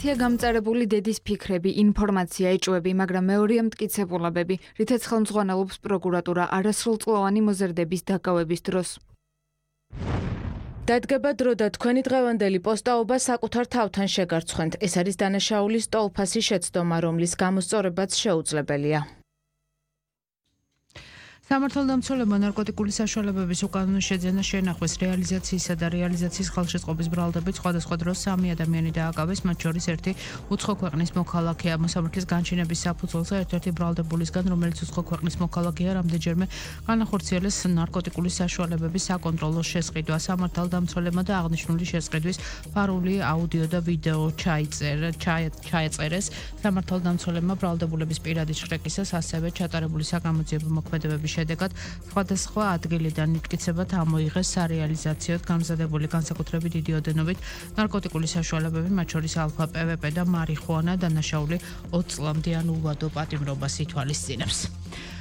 ერთია გამწარებული დედის ფიქრები, ინფორმაცია, ეჭვები, მაგრამ მეორეა მტკიცებულებები, რითაც ხელმძღვანელობს პროკურატურა არასრულწლოვანი მოზრდების დაკავების დროს. დადგება დრო და თქვენი დღევანდელი პოსტაობა საკუთარ თავთან შეგარცხვენთ. ეს არის დანაშაულის ტოლფასი შეცდომა, რომლის გამოსწორებაც შეუძლებელია. სამართალდამცველებმა ნარკოტიკული საშუალებების უკანონო შეძენა შენახვის რეალიზაციისა და რეალიზაციის ხელშეწყობის ბრალდებით სხვადასხვა დროს 3 ადამიანი დააკავეს, მათ შორის ერთი უცხო ქვეყნის მოქალაქეა. მოსამართლის განჩინების საფუძველზე ერთ-ერთი ბრალდებულისგან, რომელიც უცხო ქვეყნის მოქალაქეა, რამდენჯერმე განახორციელეს ნარკოტიკული საშუალებების საკონტროლო შესყიდვა. სამართალდამცველებმა და აღნიშნული შესყიდვის ფარული აუდიო და ვიდეო ჩაეწერეს. სამართალდამცველებმა ბრალდებულების პირადი შრეკისას ასევე ჩატარებული საგამოძიებო მოქმედებების შედეგად სხვადასხვა ადგილიდან მტკიცებად ამოიღეს სარეალიზაციოდ გამზადებული განსაკუთრებით დიდი ოდენობით ნარკოტიკული საშუალებები, მათ შორის ალფა, PVP და მარიხუანა. დანაშაული 20 წლამდე ულვადო პატიმრობას ითვალისწინებს.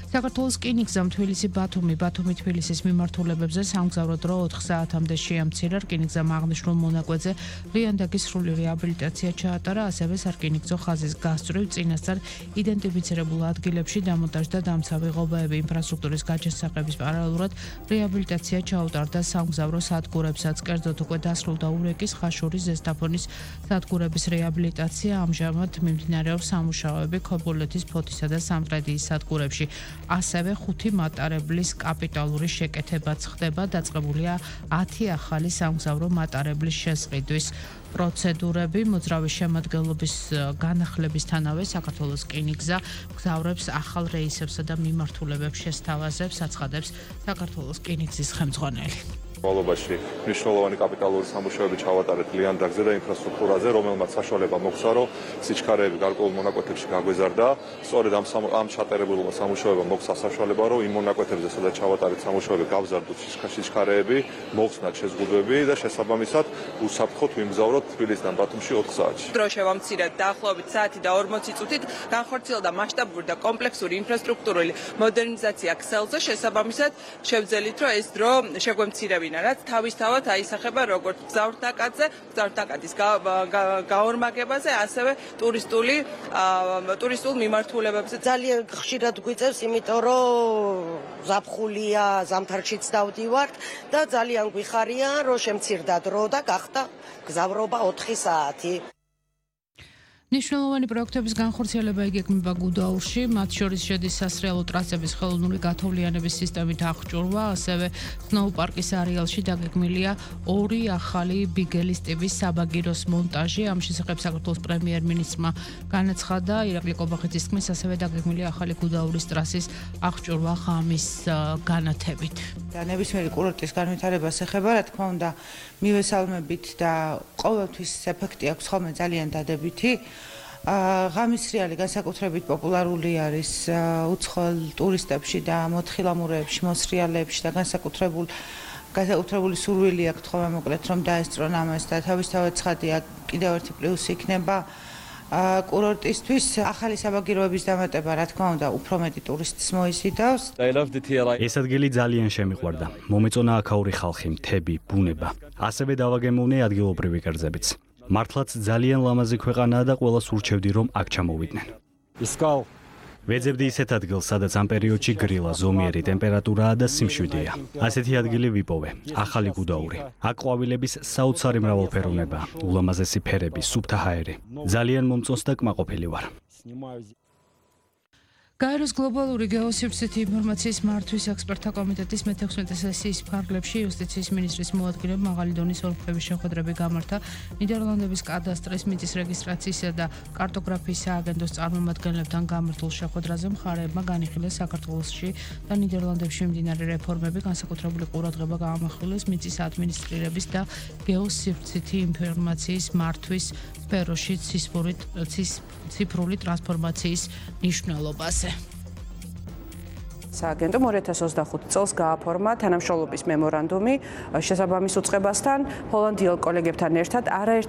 საქართველოს რკინიგზამ თბილისი-ბათუმი, ბათუმი-თბილისის მიმართულებებზე სამგზავრო დრო 4 საათამდე შეამცირა. რკინიგზამ აღნიშნულ მონაკვეთზე ლიანდაგის სრული რეაბილიტაცია ჩაატარა, ასევე სარკინიგზო ხაზის გასწვრივ წინასწარ იდენტიფიცირებულ ადგილებში დამონტაჟდა დამცავი ღობეები. ინფრასტრუქტურის გაჯასახების პარალელურად რეაბილიტაცია ჩაუტარდა სამგზავრო სადგურებსაც. კერძოდ უკვე დასრულდა ურეკის, ხაშურის, ზესტაფონის სადგურების რეაბილიტაცია. ამჟამად მიმდინარეობს სამუშაოები ქობულეთის, ფოთისა და სამტრედიის სადგურებში. ასევე 5 მატარებლის კაპიტალური შეკეთებაც ხდება. დაწყებულია 10 ახალი სამგზავრო მატარებლის შესყიდვის პროცედურები. მოძრავი შემადგენლობის განახლებისთანავე საქართველოს რკინიგზა მგზავრებს ახალ რეისებსა და მიმართულებებს შესთავაზებს, აცხადებს საქართველოს რკინიგზის ხელმძღვანელი. მოლობაში მნიშვნელოვანი კაპიტალური სამუშაოები ჩავატარეთ ლიანდაგზე და ინფრასტრუქტურაზე, რომელმაც საშუალება მოგვცა, რომ სიჩქარეები გარკვეულ მონაკვეთებში გაგვეზარდა. სწორედ ამ ჩატარებულ სამუშაოებამ მოგვცა საშუალება, რომ იმ მონაკვეთებზე, სადაც ჩავატარეთ სამუშაოები, გავზარდოთ სიჩქარეები, მოხსნათ შეზღუდვები და შესაბამისად უსაფრთხოდ ვიმგზავროთ თბილისიდან ბათუმში 4 საათში. დრო შევამცირეთ დაახლოებით საათი და 40 წუთით, განხორციელდა მასშტაბური და კომპლექსური ინფრასტრუქტურული მოდერნიზაცია ქსელზე. შესაბამისად შევძელით, რომ ეს დრო შეგვემცირებინა, რაც თავისთავად აისახება როგორც გზავრთნაკადზე, გზავრთნაკადის გაორმაგებაზე, ასევე ტურისტულ მიმართულებებზე. ძალიან ხშირად გვიწევს, იმიტომ რომ ზაფხულია, ზამთარშიც დავდივართ და ძალიან გვიხარია, რომ შემცირდა დრო და გახდა გზავრობა 4 საათი. მნიშვნელოვანი პროექტების განხორციელება იგეგმება გუდაურში, მათ შორის შედის სასრიალო ტრასების ხელოვნური გათოვლიანების სისტემით აღჭურვა, ასევე სნოუ-პარკის არეალში დაგეგმილია 2 ახალი ბიგელის ტიპის საბაგიროს მონტაჟი. ამ შესახებ საქართველოს პრემიერ-მინისტრმა განაცხადა. ირაკლი კობახიძის თქმის, ასევე დაგეგმილია ახალი გუდაურის ტრასის აღჭურვა ღამის განათებით. ნებისმიერი კურორტის განვითარებას ეხება, რა თქმა უნდა, მივესალმებით და ყოველთვის ეფექტი აქვს ხოლმე ძალიან დადებითი. ღამის რეალი განსაკუთრებით პოპულარული არის უცხოელ ტურისტებში და მოთხილამურეებში, მოსრიალეებში და განსაკუთრებული სურვილი აქვთ ხოლმე მოკლედ რომ დაესწრონ ამას და თავისთავად ცხადია კიდევ ერთი პლუსი იქნება კურორტისთვის ახალი საბაგიროების დამატება, რა თქმა უნდა, უფრო მეტი ტურისტს მოიზიდავს. ეს ადგილი ძალიან შემიყვარდა. მომეწონა აქაური ხალხი, მთები, ბუნება. ასევე დავაგემოვნე ადგილობრივი კერძებიც. მართლაც ძალიან ლამაზი ქვეყანაა და ყველას ურჩევდი, რომ აქ ჩამოვიდნენ. ვეძებდი ისეთ ადგილს, სადაც ამ პერიოდში გრილა, ზომიერი ტემპერატურაა და სიმშვიდეა. ასეთი ადგილი ვიპოვე, ახალი გუდაური. აქ ყვავილების საოცარი მრავალფეროვნებაა, ულამაზესი ფერები, სუფთა ჰაერი. ძალიან მომწონს და კმაყოფილი ვარ. გაეროს გლობალური გეოსივრცითი ინფორმაციის მართვის ექსპერტთა კომიტეტის მე-16 სესიის ფარგლებში იუსტიციის მინისტრის მოადგილემ მაღალი დონის ოლქების შეხვედრები გამართა. ნიდერლანდების კადასტრის, მიწის რეგისტრაციისა და კარტოგრაფიის სააგენტოს წარმომადგენლებთან გამართულ შეხვედრაზე მხარეებმა განიხილეს საქართველოში და ნიდერლანდებში მიმდინარე რეფორმები, განსაკუთრებული ყურადღება გაამახვილეს მიწის ადმინისტრირების და გეოსივრცითი ინფორმაციის მართვის სფეროში ციფრული ტრანსფორმაციის მნიშვნელობაზე. სააგენტო 2025 წელს გააფორმა თანამშრომლობის მემორანდუმი შესაბამის უწყებასთან, ჰოლანდიელ კოლეგებთან ერთად არაერთ